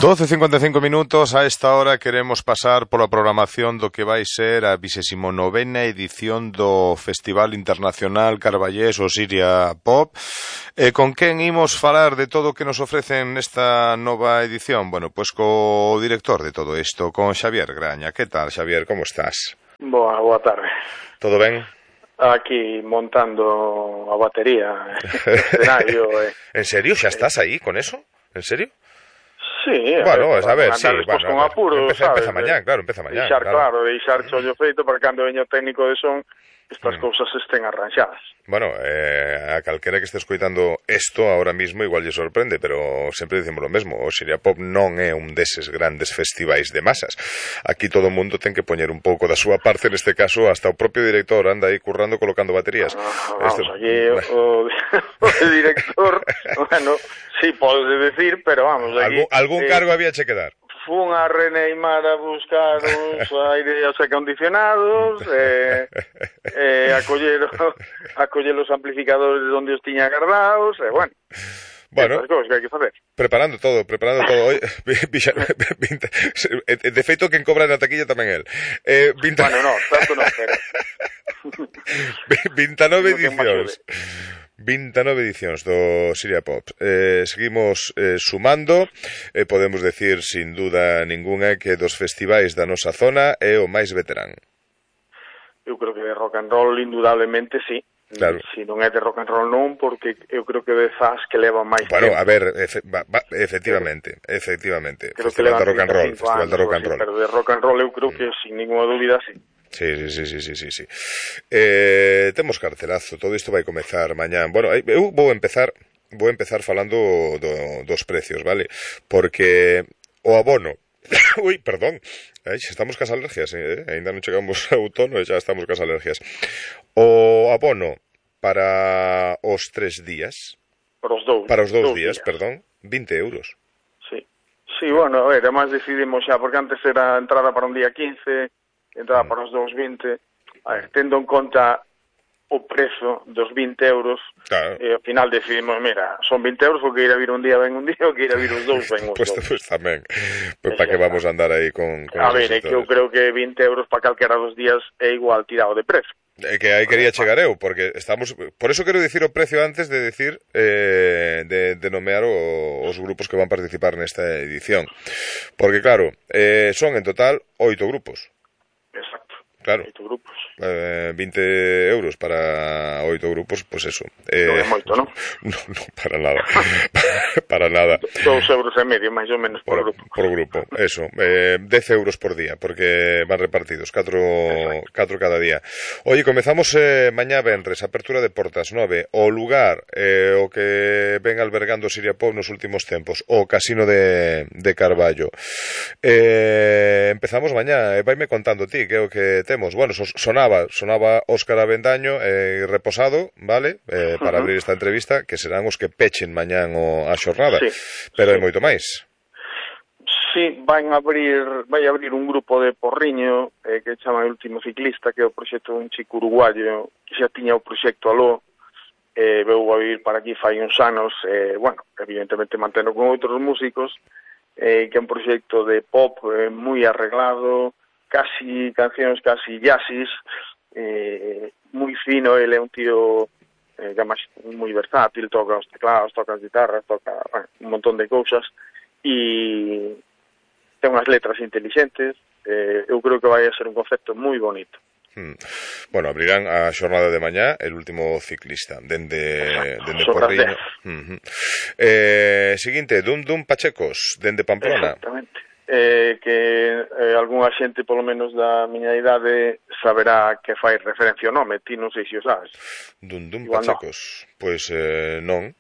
12:55 minutos. A esta hora queremos pasar pola programación do que vai ser a 29ª edición do Festival Internacional Carballés Osiria Pop. Con quen imos falar de todo o que nos ofrecen nesta nova edición? Bueno, pois co director de todo isto, con Xavier Graña. Que tal, Xavier, como estás? Boa tarde. Todo ben? Aquí montando a batería, escenario. En serio? Xa estás aí con eso? En serio? Sí, bueno, a ver, sí, despois bueno, con apuro, empeza mañán, claro, empeza mañán. Deixar chollo feito para cando veño técnico de son estas cousas estén arranxadas. Bueno, a calquera que este escoitando isto ahora mismo igual lle sorprende, pero sempre dicimos o mesmo, o Osiria Pop non é un deses grandes festivais de masas. Aquí todo o mundo ten que poñer un pouco da súa parte, neste caso hasta o propio director anda aí currando colocando baterías. Aquí o director, bueno, sí, podes decir, pero vamos, aquí... Algún cargo había che que dar. Fun a Reneimar a buscar uns aireos acondicionados, a coller os amplificadores onde os tiña guardados, bueno, estas cousas que hai que facer. Preparando todo. Oye, de feito, quen cobra na taquilla tamén el. Bueno, no, tanto non, pero... 29 edicións. 29 edicións do Osiria Pop. Seguimos sumando, podemos decir sin duda ninguna que dos festivais da nosa zona é o máis veterán. Eu creo que de rock and roll indudablemente sí. Claro. Si non é de rock and roll non, porque eu creo que de Zas que leva máis tempo. A ver, efectivamente. Creo Festival de rock and roll, Festival de rock and roll. Pero de rock and roll eu creo que sin ninguna dúbida sí. Sí. Temos cartelazo, todo isto vai comezar mañán. Bueno, eu vou empezar falando dos precios, vale? Porque o abono... Ui, perdón. Xa estamos cas alergias, ainda non chegamos a outono e xa estamos cas alergias. O abono para os 3 días... Para os 2 días, perdón, 20 euros. Sí, bueno, a ver, además decidimos xa, porque antes era entrada para un día 15... entraba para os 2,20, a ver, tendo en conta o prezo dos 20 euros, claro. Ao final decidimos, mira, son 20 euros, o que ir a vir un día ven un día, o que ir a vir os dous ven os dous. Pues tamén, pues para que vamos a andar aí con a ver, é que eu creo que 20 euros para calquera dos días é igual tirado de prezo. É que aí quería chegar eu, porque estamos... Por eso quero dicir o precio antes de decir, de nomear os grupos que van participar nesta edición. Porque claro, son en total 8 grupos. Exacto. Claro. 8 grupos. 20 euros para 8 grupos, pues eso. Non é moito, non? No, para nada. Para nada. 2,5 euros, máis ou menos, por grupo. Por grupo, eso. 10 euros por día, porque van repartidos, 4 cada día. Oye, comezamos mañá venres, apertura de portas 9. O lugar, o que ven albergando Osiria Pop nos últimos tempos, o Casino de Carballo. Empezamos mañá, vaime contando ti, que é o que temos. Bueno, sonaba Óscar Avendaño reposado, vale? Para abrir esta entrevista, que serán os que pechen mañán a xornada. Sí, pero hai moito máis. Sí, vai abrir un grupo de Porriño que chama El Último Ciclista, que é o proxecto dun chico uruguayo que xa tiña o proxecto aló, veu a vivir para aquí fai uns anos, bueno, evidentemente mantendo con outros músicos, que é un proxecto de pop moi arreglado, cancións casi jazzis, moi fino. Ele é un tío moi versátil, toca os teclados, toca as guitarras, toca un montón de cousas, e ten unhas letras inteligentes. Eu creo que vai a ser un concepto moi bonito. Bueno, abrirán a xornada de mañá El Último Ciclista dende Porriño. Seguinte, Dum Pachecos dende Pamplona. Exactamente. Que algunha xente polo menos da miña idade saberá que fai referencia ao nome. Ti non sei se o sabes. Dum Pachecos, no. Pois non.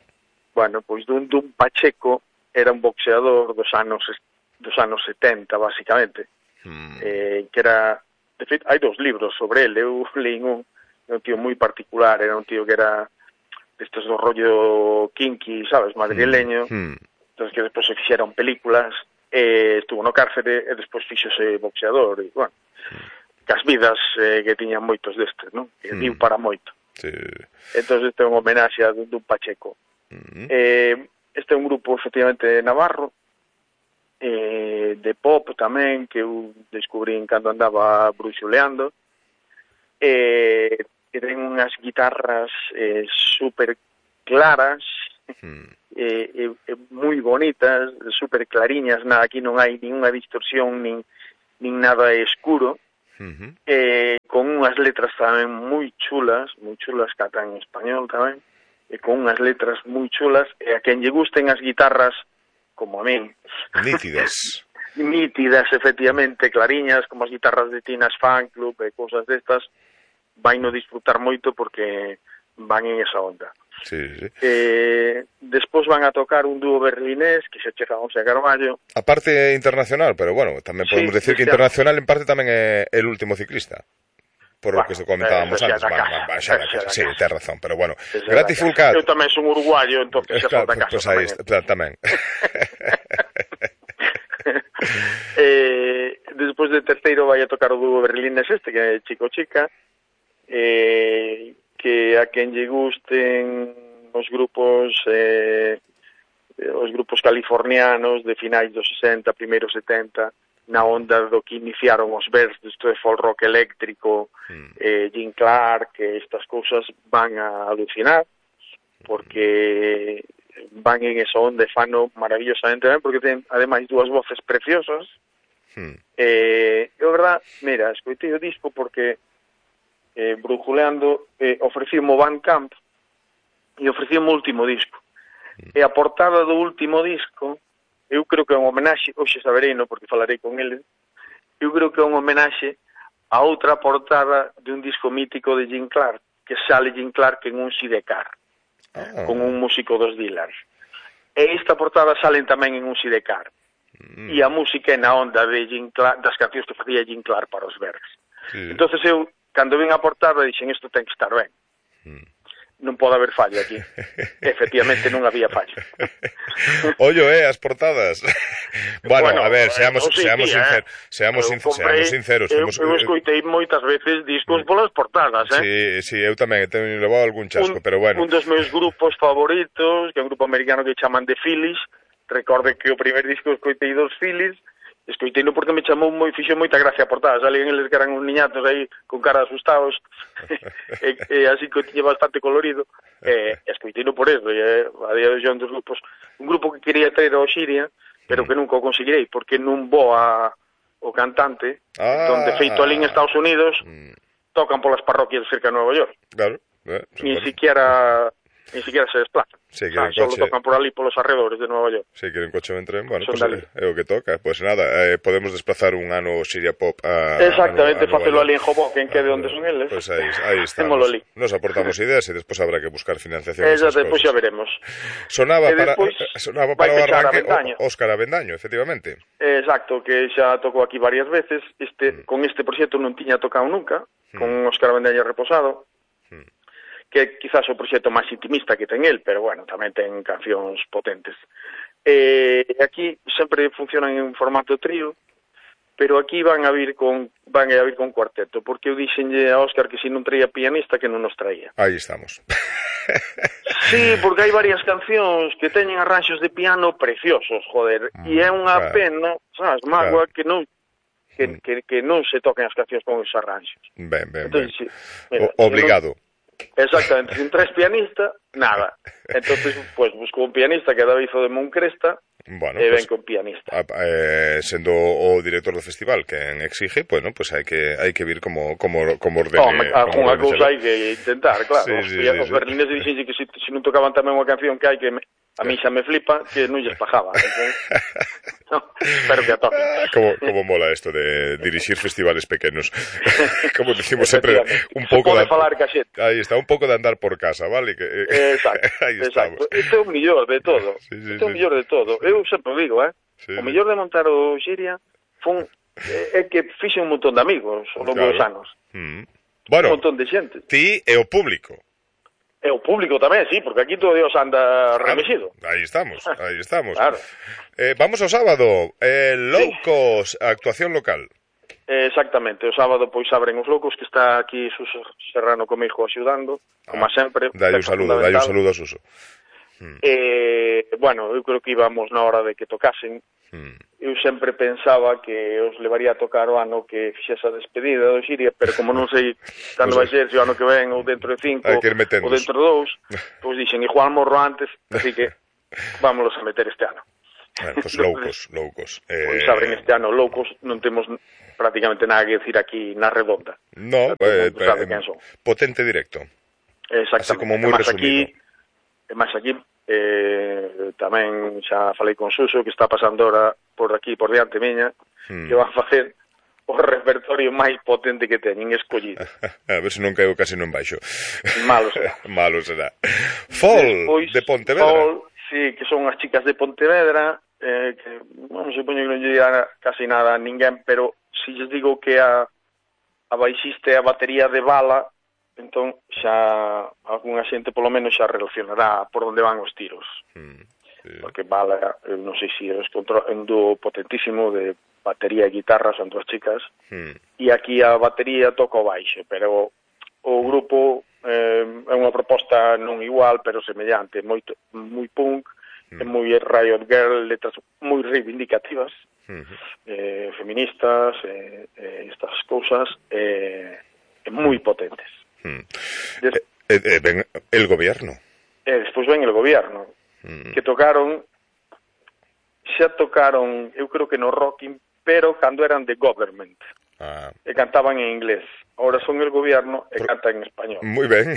Bueno, pois Dum Pacheco era un boxeador dos anos 70, basicamente. Que era, de feito, hai 2 libros sobre ele. Eu leín un tío moi particular, era un tío que era destes do rollo kinky, sabes, madrileño. Entonces que despois se fixeron películas, estuvo no cárcere e despois fixose boxeador, e, bueno, cas vidas que tiñan moitos destes, non? Que diu para moito. Sí. Entón, este é un homenaxe a Dum Pacheco. Este é un grupo, efectivamente, navarro, de pop tamén, que eu descubrín cando andaba bruxuleando, que ten unhas guitarras super claras, moi bonitas, super clariñas, aquí non hai ninguna distorsión nin nada escuro, con unhas letras tamén moi chulas catan en español tamén, e con unhas letras moi chulas, e a quen lle gusten as guitarras como a min. Nítidas. Nítidas, efectivamente, clariñas, como as guitarras de Tina's Fan Club e cousas destas, vai no disfrutar moito porque van en esa onda. Sí. Despois van a tocar un dúo berlinés que se chega a José Carballo. A parte internacional, pero bueno, tamén podemos decir que internacional en parte tamén é el último ciclista. Por lo que comentábamos antes. Sí, ten razón, pero bueno. Gratifulcat. Eu tamén son uruguayo, entón xa son da casa. Pois aí está, tamén. Despois de terceiro vai a tocar o dúo berlinés que é Chico Chica, que a quen lle gusten os grupos californianos de finais dos 60, primeiros 70, na onda do que iniciaron os Bears, isto de folk rock eléctrico, Jim Clark, estas cousas van a alucinar, porque van en esa onda e fano maravillosamente ben, porque ten ademais dúas voces preciosas. Eu, verdad, mira, escoitei o disco porque brujuleando ofrecímo Bandcamp e ofrecímo o último disco. E a portada do último disco, eu creo que é un homenaxe, hoxe sabereino porque falarei con ele, eu creo que é un homenaxe a outra portada de un disco mítico de Jim Clark, que sale Jim Clark en un sidecar, con un músico dos Dillars. E esta portada salen tamén en un sidecar. E a música é na onda de Jim Clark, das cancións que facía Jim Clark para os Bears. Entonces eu, cando vin a portada, dixen, isto ten que estar ben. Non pode haber fallo aquí. Efectivamente non había fallo. Ollo, as portadas. Bueno, a ver, seamos sinceros. Eu escoitei moitas veces discos polas portadas, Sí, eu tamén teño levado algún chasco, pero bueno. Un dos meus grupos favoritos, que é un grupo americano que chaman The Phillies, recorde que o primer disco escoitei dos Phillies, escoiteino porque me chamou fixo moita gracia a portada, salían eles que eran uns niñatos aí con cara asustados e así que tiña bastante colorido, escoiteino por eso, e a día de hoxe un dos grupos, un grupo que quería traer ao Xiria, pero que nunca o conseguirei, porque non voa o cantante, donde feito ali en Estados Unidos tocan polas parroquias cerca de Nueva York. Claro. Ni siquiera se desplazan. Solo tocan por ali polos arredores de Nueva York. Se queren coche en tren, bueno, pues é o que toca. Pois nada, podemos desplazar un ano Xiria Pop a exactamente, facelo ali en Hoboken, que é de onde son eles. Pois aí estamos. Nos aportamos ideas e despois habrá que buscar financiación. Despois xa veremos. Sonaba para o arranque Óscar Avendaño, efectivamente. Exacto, que xa tocou aquí varias veces. Con este proxecto non tiña tocado nunca, con Óscar Avendaño reposado, que é quizás o proxecto máis intimista que ten el, pero bueno, tamén ten cancións potentes. Aquí sempre funcionan en formato trío, pero aquí van a vir con cuarteto, porque eu dixenlle a Óscar que se non traía pianista, que non nos traía. Aí estamos. Sí, porque hai varias cancións que teñen arranxos de piano preciosos, joder, e é unha pena, sabes, mágoa que non que non se toquen as cancións con os arranxos. Ben. Entonces, sí, mira, obligado. Exactamente, sin tres pianistas, nada. Entonces, pues busco un pianista que é David de Moncresta, bueno, e ven con pianista. Sendo o director do festival que exige, bueno, pues hai que vir como ordene. Alguna cousa hai que intentar, claro. Os berlineses dixen que se non tocaban tamén unha canción que hai que a mí xa me flipa, que non lles pajaba. No, espero que a toque. Como mola isto de dirixir festivales pequenos. Como decimos sempre, un pouco de falar ca xente. Aí está, un pouco de andar por casa, vale? Exacto. Isto é o mellor de todo. Isto é o mellor de todo. Eu sempre digo, o mellor de montar o Xiria é que fixe un montón de amigos ao longo dos anos. Bueno, un montón de xente. Ti e o público. E o público tamén, sí, porque aquí todo Dios anda remexido. Aí estamos. Claro. Vamos ao sábado, Loucos, actuación local. Exactamente, o sábado pois abren os Loucos, que está aquí Suso Serrano comigo axudando, como sempre. Dai un saludo a Suso. Bueno, eu creo que íbamos na hora de que tocasen. Eu sempre pensaba que os levaría a tocar o ano que fixese a despedida do Xiria, pero como non sei cando vai ser, se o ano que ven ou dentro de 5 ou dentro de 2, pois dixen, igual morro antes, así que vámonos a meter este ano. Bueno, pues loucos. Pois abren este ano loucos, non temos prácticamente nada que decir aquí na redonda. No, potente directo. Exactamente. Así como moi resumido. Máis aquí, tamén xa falei con Suso, que está pasando ahora por aquí, por diante miña, que van a facer o repertorio máis potente que teñen escollido. A ver se non caigo casi no embaixo. Malo será. Malo será. Fall, de Pontevedra. Fall, sí, que son as chicas de Pontevedra, que, bueno, supoño que non lle dirá casi nada a ninguén, pero si lles digo que a baixista e a batería de Bala, entón xa algunha xente polo menos xa relacionará por onde van os tiros. Sí. Porque Bala, non sei se es un dúo potentísimo de batería e guitarra, son dúas chicas, e aquí a batería toca o baixo, pero o grupo é unha proposta non igual, pero semellante, moi punk, moi Riot Girl, letras moi reivindicativas, feministas, estas cousas, moi potentes. Ven el gobierno. Despois ven el gobierno, que tocaron, eu creo que no Rocking, pero cando eran de Government, e cantaban en inglés. Ahora son el gobierno e cantan en español. Moi ben.